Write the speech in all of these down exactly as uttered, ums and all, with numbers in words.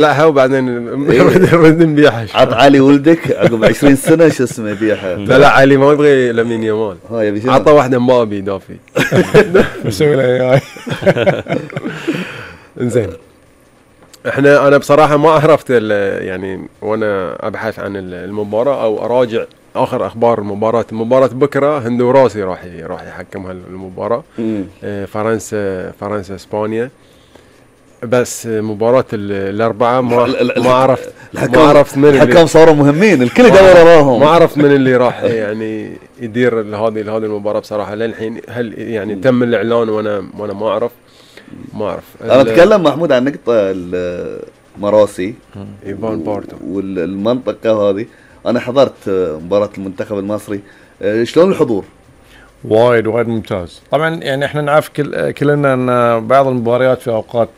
لا وبعدين نبيعها. عط علي ولدك عقب عشرين سنة شو اسمه يبيعها. لا لا علي ما يبغي لامين يامال. عطى واحدة مبابي دافي. مسوي له اياي. انزين. احنا انا بصراحة ما عرفت يعني وانا ابحث عن المباراة او اراجع اخر اخبار المباراة. مباراة بكرة هندوراسي راح راح يحكم هالمباراة. فرنسا فرنسا اسبانيا. بس مباراة الأربعة ما ما عرفت ما عرفت من الحكام صاروا مهمين الكل يدور وراهم. ما عرفت من اللي راح يعني يدير هذه هذه المباراة بصراحة للحين. هل يعني تم الإعلان وأنا وأنا ما أعرف ما أعرف. أنا أتكلم محمود عن نقطة المراسي إيفان بارتو والمنطقة هذه. أنا حضرت مباراة المنتخب المصري. شلون الحضور؟ وايد وايد ممتاز. طبعا يعني احنا نعرف كل كلنا ان بعض المباريات في اوقات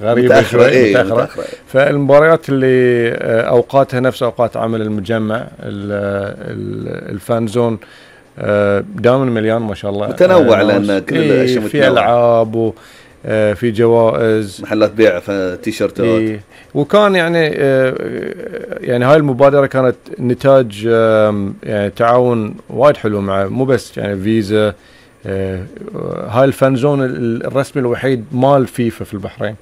غريبه شوي ايه متأخرة. متأخرة. فالمباريات اللي اوقاتها نفس اوقات عمل المجمع الفان زون دائما مليان ما شاء الله. متنوع لان كل الاشياء إيه في العاب وفي جوائز محلات بيع تيشرتات إيه. وكان يعني يعني هاي المبادرة كانت نتاج يعني تعاون وايد حلو مع مو بس يعني فيزا. هاي الفان زون الرسمي الوحيد مال فيفا في البحرين.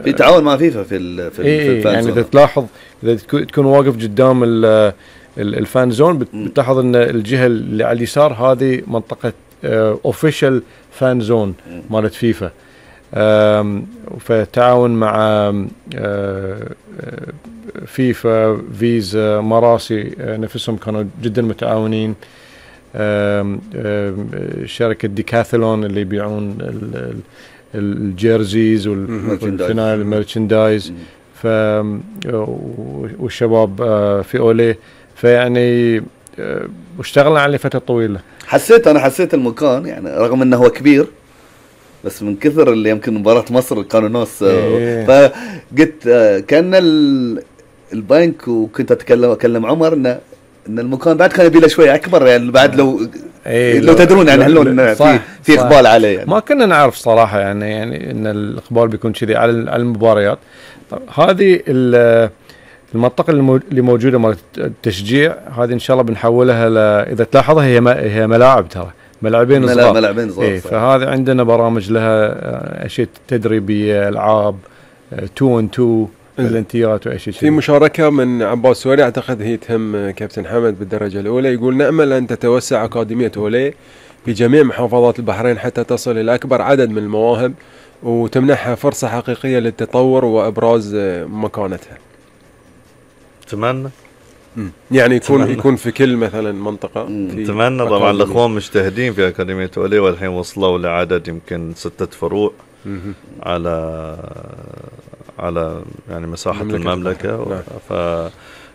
في تعاون مع فيفا في ال في, إيه في الفان يعني زون. إذا تلاحظ إذا تكون واقف قدام الفان زون بتلاحظ ان الجهة اللي على اليسار هذه منطقة اوفيشال فان زون مالت فيفا. فتعاون مع فيفا فيزا مراسي نفسهم كانوا جدا متعاونين. شركة ديكاثلون اللي يبيعون الجيرزيز والفنايل الميرشندايز ف والشباب في أوليه. فيعني واشتغلنا عليه فترة طويلة. حسيت أنا حسيت المكان يعني رغم أنه هو كبير بس من كثر اللي يمكن مباراة مصر كانوا ناس. إيه. فقلت كان البنك وكنت اتكلم اكلم عمر ان ان المكان بعد كان يبي له شويه اكبر يعني بعد لو إيه لو تدرون يعني هلون في في اقبال عليه يعني. ما كنا نعرف صراحه يعني يعني ان الاقبال بيكون كذي على المباريات. هذه المنطقه اللي موجوده مال التشجيع هذه ان شاء الله بنحولها ل... اذا تلاحظها هي هي ملاعب ترى ملاعبين صغار. ملاعبين صغار. إيه فهذا عندنا برامج لها اشياء تدريبيه العاب تو ان تو الانتيات واشياء. في مشاركه من عباس سوري اعتقد هي تهم كابتن حمد بالدرجه الاولى. يقول نامل ان تتوسع اكاديميه اوليه في جميع محافظات البحرين حتى تصل الى اكبر عدد من المواهب وتمنحها فرصه حقيقيه للتطور وابراز مكانتها. اتمنى يعني يكون تمنى. يكون في كل مثلا منطقه. اتمنى طبعا الاخوان مجتهدين في اكاديميه اوليه والحين وصلوا لعدد يمكن ستة فروع على على يعني مساحه المملكه, المملكة.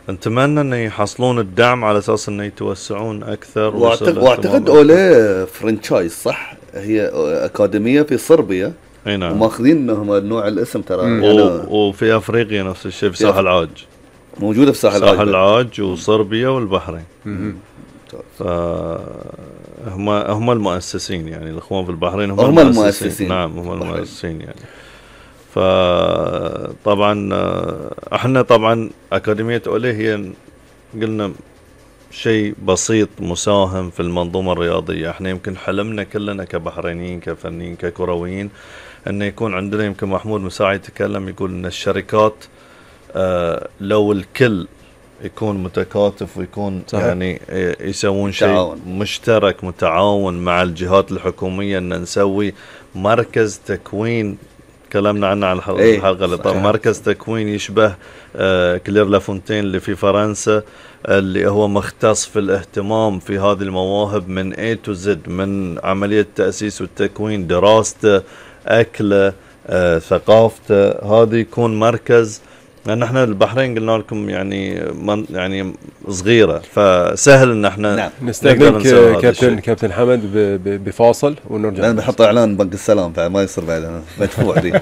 فنتمنى انه يحصلون الدعم على اساس انه يتوسعون اكثر. واعتقد, واعتقد اوليه فرانشايز صح هي اكاديميه في صربيا. اي نعم وماخذين انهم نوع الاسم ترى يعني وفي افريقيا نفس الشيء في ساحل العاج موجوده في ساحل العاج ساحل العاج وصربيا والبحرين. فهم هم المؤسسين يعني الاخوان في البحرين هم, هم المؤسسين. المؤسسين نعم هم المؤسسين يعني. فطبعا احنا طبعا اكاديميه اوليه هي قلنا شيء بسيط مساهم في المنظومه الرياضيه. احنا يمكن حلمنا كلنا كبحرينيين كفنيين ككرويين انه يكون عندنا يمكن محمود مساعي يتكلم يقول ان الشركات آه لو الكل يكون متكاتف ويكون صحيح. يعني يسوون شيء مشترك متعاون مع الجهات الحكوميه ان نسوي مركز تكوين كلامنا عنه على الحلقه ايه اللي طبعا مركز تكوين يشبه آه كلير لافونتين اللي في فرنسا اللي هو مختص في الاهتمام في هذه المواهب من A to Z من عمليه التاسيس والتكوين دراسته اكله آه ثقافته. هذا يكون مركز لان احنا البحرين قلنا لكم يعني من يعني صغيره فسهل ان احنا نعم. نستقبل كابتن كابتن حمد بفاصل ونرجع. انا بحط اعلان بنك السلام فما يصير بعد مدفوع دي